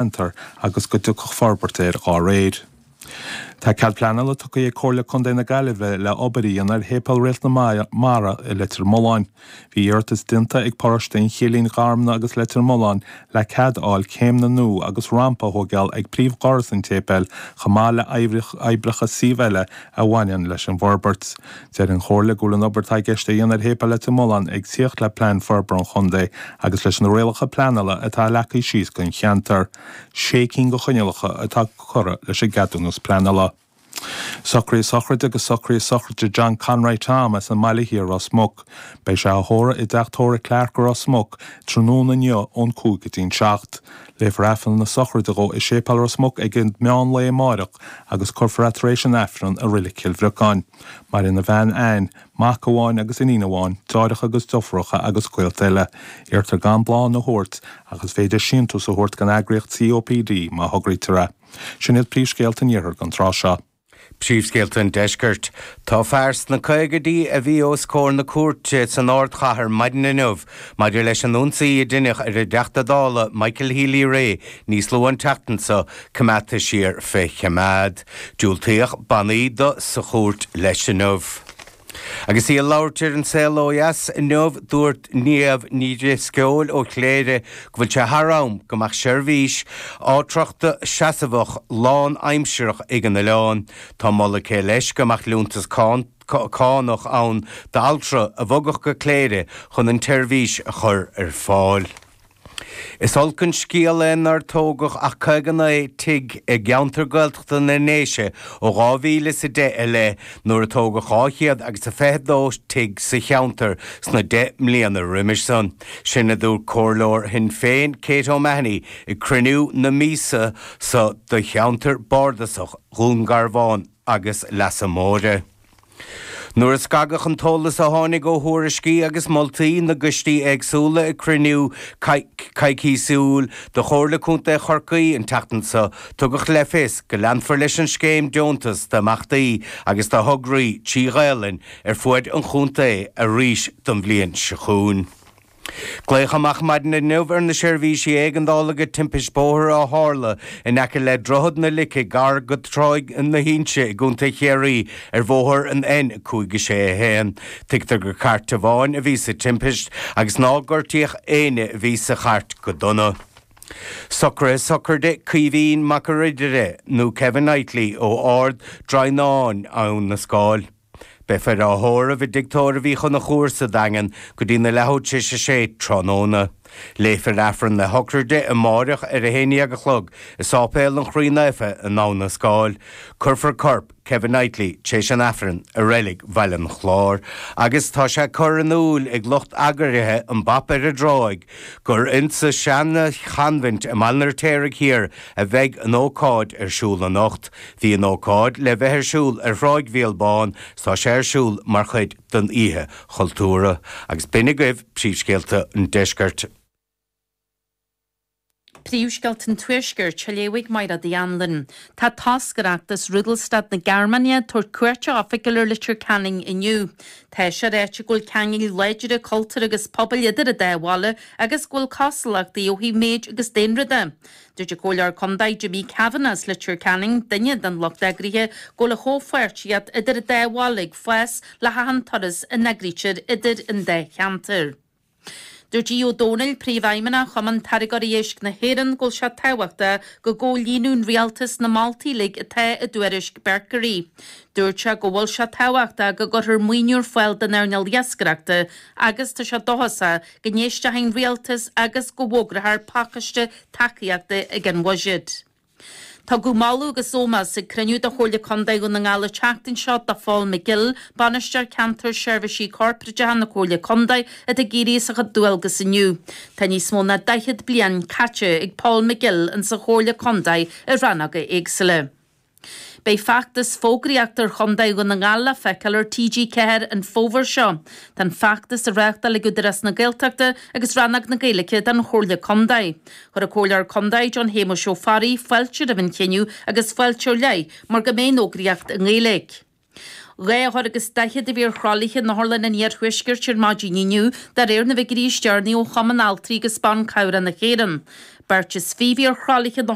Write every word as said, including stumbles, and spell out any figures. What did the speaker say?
Ceantar agus go dtiocfadh forbairt air dhá réir. Tá cead pleanála tugtha ag Comhairle Contae na Gaillimhe le obair a dhéanamh ar Shéipéal Réalt na Mara i Leitir Mealláin. Bhí iarratas déanta ag paróiste an Chillín, Garmna agus Leitir Mealláin le cead a fháil céimeanna nua agus rampa a thógáil ag príomhdhoras an tséipéil chomh maith le oibreacha suímh eile a bhaineann leis an bhforbairt. Deir an Chomhairle go bhfuil an obair atá i gceist a dhéanamh ar Shéipéal Leitir Mealláin ag tíocht le plean forbartha an chontae agus leis na rialacha pleanála atá leagtha síos don cheantar. Sé cinn de choinníollacha atá curtha leis an gceadúnas pleanála. Socruithe sochraide agus socruithe sochraide John Conroy Tom as an mBaile Thiar Ros Muc. Beidh sé á thórramh i dteach tórraimh Clarke i Ros Muc tráthnóna inniu ón cúig go dtí'n seacht. Léifear Aifreann na sochraide dhó i Séipéal Ros Muc ag an meán lae amáireach agus cuirfear é tar éis an Aifrinn i Reilig Chill Bhriocáin. Maireann a bhean Ann, mac amháin agus iníon amháin, deartháireacha agus deirfiúracha agus gaolta eile. Iarrtar gan bláthanna a thabhairt ach is féidir síntiús a thabhairt don eagraíocht COPD má thograítear é. Sin iad príomhscéalta an iarthair don tráth seo. Príomhscéalta an deiscirt. Tá fear sna caogaidí a bhí os comhair na cúirte san ardchathair maidin inniu maidir leis an ionsaí a deineadh ar an dTeachta Dála Michael Healy-Rae níos luaithe an tseachtain seo coimeádta siar fé choimeád. Diúltaíodh bannaí dó sa chúirt leis inniu. Agus í ag labhairt ar An Saol Ó Dheas inniu, dúirt Niamh Ní Dhrisceoil ó Chléire go bhfuil sé thar am go mbeadh seirbhís altrachta seasmhach lánaimsearach ag an oileán. Tá moladh aici leis go mbeadh liúntas cánach ann d'altra a bhogfadh go Cléire chun an tseirbhís a chur ar fáil. Is olc an scéal é nár tógadh ach caoga naoi tigh i gceantar Gaeltachta na nDéise ó dhá mhíle is a deich i leith, nuair a tógadh dhá chéad agus a fiche dó tigh sa cheantar sna deich mbliana roimis san. Sin a dúirt Comhairleoir Shinn Féin, Kate O'Mahony, ag cruinniú na míosa so do cheantar bardasach Dhún Garbhán agus Leasa Móire. Nuair a scagadh an t-eolas a tháinig ó thuairiscí agus moltaí na gcoistí éagsúla ag cruinniú coicísiúil de Chomhairle Contae Chorcaí an tseachtain seo, tugadh le fios go leanfar leis an scéim deontas d'imeachtaí agus do thograí trí Ghaelainn ar fuaid an chontae arís don bhliain seo chugainn. Glaodh amach maidin inniu ar na seirbhísí éigeandála go timpist bóthair a tharla in aice le Droichead na Lice gar go Tráigh na hInse i gContae Chiarraí ar bhóthar an N cúig a sé a haon. Tuigtear gur cairt amháin a bhí sa timpist agus nár gortaíodh éinne a bhí sa chairt go dona. Socruithe sochraide Caoimhín Mac a' Ridire nó Kevin Knightley ó Ard Droighneáin, Abhainn na Scáil. Beifear á thórramh i dtigh tórraimh Uí Chonchúir sa Daingean go dtí na leathuair tar éis a sé tráthnóna. Léifear Aifreann na sochraide amáireach ar a haon déag a chlog i Sáipéal an Chroí Naofa in Abhainn na Scáil. Cuirfear corp Kevin Knightley tar éis an Aifrinn i Reilig Bhaile an Chláir agus tá sé curtha in iúl ag lucht eagraithe an Bap ar an dTráigh gur insa seana-choinbhint i mBaile an Fheirtéaraigh Thiar a bheidh an ócáid ar siúl anocht. Bhí an ócáid le bheith ar siúl ar Thráigh Mhíol Bán 's tá sé ar siúl mar chuid den Oíche Chultúrtha. Agus b'in agaibh príomhscéalta an deiscirt. Príomhscéalta an Tuaiscirt, á léamh ag Máire Uí Anluain. Tá toscaireacht as Rudolstadt na Gearmáine ag tabhairt cuairte oifigiúil ar Leitir Ceanainn inniu. Tá sé ráite go bhfuil ceangail láidre cultúir agus pobail idir an dá bhaile agus go bhfuil cosúlachtaí ó thaobh méid agus daonra de. Dúirt an Comhairleoir Contae Jimmy Kavanagh as Leitir Ceanainn, duine den lucht eagraithe, go bhfuil an chomhpháirtíocht idir an dá bhaile ag fás le hachan turas a n-eagraítear idir an dá cheantar. Dúirt Aodh Ó Domhnaill, Príomhfheidhmeannach Chumann Táirgeoirí Éisc na hÉireann, go bhfuil sé tábhachtach go gcomhlíonadh an rialtas na moltaí uilig atá i dtuairisc Berkery. Dúirt sé go bhfuil sé tábhachtach go gcuirfear maoiniú ar fáil don earnáil iascaireachta agus tá sé dóchasach go n-éistfidh an rialtas agus go bhfógrófar pacáiste tacaíochta ag an bhuiséad. Tugadh moladh agus ómós ag cruinniú de Chomhairle Contae Dhún na nGall an tseachtain seo do Phól McGill, Bainisteoir Ceantair Seirbhísí Corparáideacha na Comhairle Contae, atá ag éirí as a chuid dualgas inniu. Tá níos mó ná daichead bliain caite ag Paul McGill insa Chomhairle Contae i rannóga éagsúla. Beidh feachtas fógraíochta ar Chontae Dhún na nGall le feiceáil ar T G ceathair an fómhar seo. Tá an feachtas á reáchtáil ag Údarás na Gaeltachta agus Rannóg na Gaeilge den Chomhairle Contae. Chuir an Comhairleoir Contae John Shéamuis Ó Fearraigh fáilte roimh an chinneadh agus fáilte ar leith mar go mbeidh an fhógraíocht i nGaeilge. Dhá othar agus daichead a bhí ar thralaithe in Otharlann an Iarthuaiscirt ar maidin inniu, de réir na bhfigiúirí is deireanaí ó Chumann Altraí agus Ban Cabhrach na hÉireann. Beirt is fiche ar thralaithe na